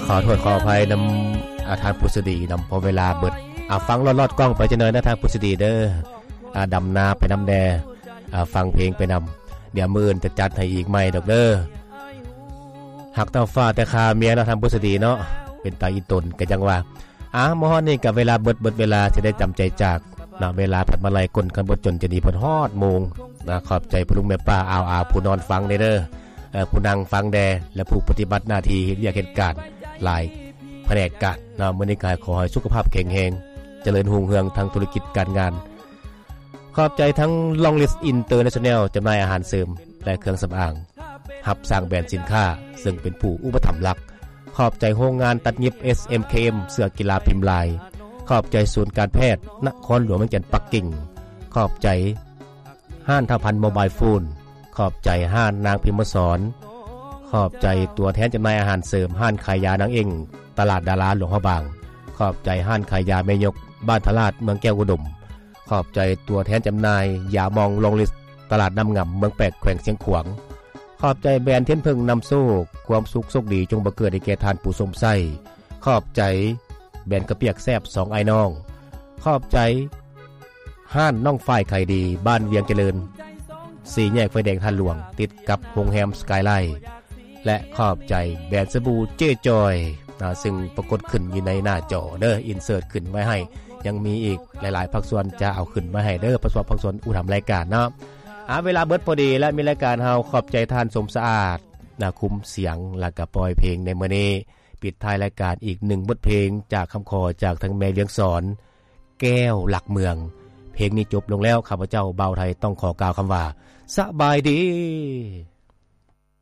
ຂໍໂທດຂໍອະໄພນຳ ອາ ທ່ານຜູ້ສະດີນຳ ເພາະເວລາເບິດ. ອາ ຟັງລອດໆກ້ອງໄປຈັກໜ້ອຍນະ ທ່ານຜູ້ສະດີເດີ. ອາ ດຳນາໄປນຳແດ່ ອາ ຟັງເພງໄປນຳ. ດຽວມື້ອື່ນຈະຈັດໃຫ້ອີກໃໝ່ດອກເດີ. ຮັກເທົ່າຟ້າແຕ່ຄາເມຍເນາະ ທ່ານຜູ້ສະດີເນາະ. ເປັນຕາອີ່ຕົນກະຈັ່ງວ່າ. ອາ ມາຮອດນີ້ກະເວລາເບິດ ເບິດເວລາ ຊິໄດ້ຈຳໃຈຈາກເນາະ. ເວລາພັດມາໄລ່ກົ້ນ ຄັນບໍ່ຈົນຈະໜີເພິ່ນຮອດໂມງນະ. ຂອບໃຈພໍ່ລຸງແມ່ປ້າອາວອາ ຜູ້ນອນຟັງແດ່ເດີ. ເອີ ຜູ້ນັ່ງຟັງແດ່ ແລະ ຜູ້ປະຕິບັດໜ້າທີ່ເຮັດວຽກເຮັດການຫຼາຍພະແນກການເນາະ. ມື້ນີ້ກະຂໍໃຫ້ສຸຂະພາບແຂງແຮງ ຈະເລີນຮຸ່ງເຮືອງທາງທຸລະກິດການງານ. ຂອບໃຈທັງ Long List International ຈຳໜ່າຍອາຫານເສີມ ແລະ ເຄື່ອງສຳອາງ ຮັບສ້າງແບຣນສິນຄ້າ ເຊິ່ງເປັນຜູ້ອຸປະຖຳຫຼັກ. ຂອບໃຈໂຮງງານຕັດຫຍິບ ເອສເອັມເຄເອັມ ເສື້ອກິລາພິມລາຍ. ຂອບໃຈສູນການແພດນະຄອນຫຼວງວຽງຈັນປັກກິ່ງ. ຂອບໃຈຮ້ານທ້າວພັນໂມບາຍໂຟນ. ຂອບໃຈຮ້ານນາງພິມມະສອນ. ຂອບໃຈຕົວແທນຈຳໜ່າຍອາຫານເສີມ ຮ້ານຂາຍຢານາງເອັ້ງ ຕະຫຼາດດາລາ ຫຼວງພະບາງ. ຂອບໃຈຮ້ານຂາຍຢາແມ່ຍົກ ບ້ານທະລາດ ເມືອງແກ້ວອຸດົມ. ຂອບໃຈຕົວແທນຈຳໜ່າຍຢາມອງ Long List ຕະຫຼາດນ້ຳງຳ ເມືອງແປກ ແຂວງຊຽງຂວາງ. ຂອບໃຈແບຣນທຽນເຜິ້ງນຳໂຊກ ຄວາມສຸກໂຊກດີຈົ່ງບັງເກີດໃຫ້ແກ່ທ່ານຜູ້ຊົມໃຊ້. ຂອບໃຈແບຣນເຂົ້າປຽກແຊບສອງອ້າຍນ້ອງ. ຂອບໃຈຮ້ານນ້ອງຝ້າຍຂາຍດີ ບ້ານວຽງຈະເລີນ ສີ່ແຍກໄຟແດງທ່າຫຼວງ ຕິດກັບໂຮງແຮມ Skyline. ແລະ ຂອບໃຈແບຣນສະບູເຈຈອຍນະ ຊຶ່ງປາກົດຂຶ້ນຢູ່ໃນໜ້າຈໍເດີ ອິນເສີດຂຶ້ນໄວ້ໃຫ້. ຍັງມີອີກຫຼາຍໆພາກສ່ວນຈະເອົາຂຶ້ນໄວ້ໃຫ້ເດີ ພາກສ່ວນ ພາກສ່ວນອຸດຫະນຳລາຍການເນາະ. ອາ ເວລາເບິດພໍດີ ແລະ ມີລາຍການເຮົາ. ຂອບໃຈທ່ານສົມສະອາດນະ ຄຸມສຽງ ແລະ ກະປ່ອຍເພງໃນມື້ນີ້. ປິດທ້າຍລາຍການອີກໜຶ່ງບົດເພງຈາກຄຳຂໍຈາກທາງແມ່ວຽງສອນ ແກ້ວຫຼັກເມືອງ. ເພງນີ້ຈົບລົງແລ້ວ ຂ້າພະເຈົ້າບ່າວໄທຕ້ອງຂໍກ່າວຄຳວ່າ ສະບາຍດີ.